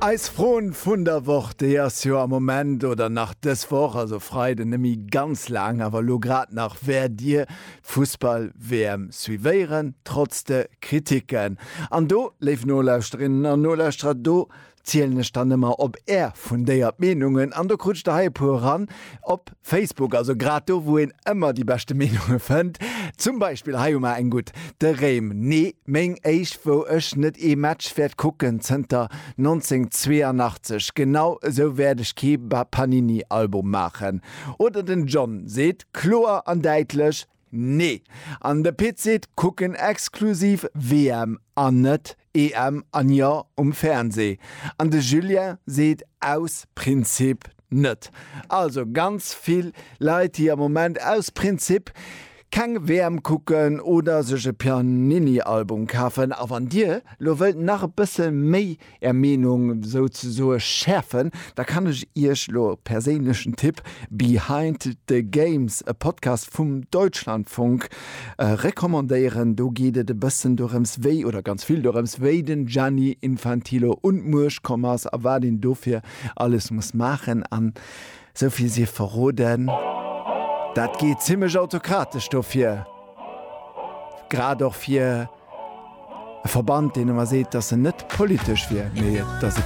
Eis Froen vun der Woch, déi ass jo am Moment oder nach dës Woch, also Freiden, net méi ganz laang, awer elo grad nach, wäert Dir d'Fussball-WM suivéieren, trotz de Kritiken. An do, léif Nolauschterinnen an Nolauschterer, do zielen ech dann ëmmer op Är fundéiert Meenungen an do krut ech der hei e puer eran op Facebook, also grad do wou een ëmmer déi beschte Meenunge fënnt. Zum Beispill hei hu mer eng gutt, de Réim, Nee, meng éischt wou ech net ee Match wäert kucken zënter 1982, genau esou wäert ech kee Panini Album maachen. Oder den John seet kloer an däitlech, Nee! An de Pit seet, kucken exklusiv WM an net EM an jo um Fernseh. An de Julien seet aus Prinzip net. Also ganz vill Leit déi am Moment aus Prinzip keng WM kucken oder sech e Pianini-Album kafen. A wann dir lo wëllt nach e bësse méi Är Meenung souzesoe schäerfen, da kann ech Iech lo e perséinlechen Tipp, Behind the Games, e Podcast vum Deutschlandfunk, recommandéieren. Do geet et e bëssen dorëms, wéi, oder ganz vill dorëms, wéi den Gianni Infantilo un d'Muecht komm ass a wat een dofir alles muss maachen. An esou vill sief verroden, dat geet zimmlech autokratesch dofir, grad och fir. E Verband, deen ëmmer seet, datt en net politesch wier, mee et ass et.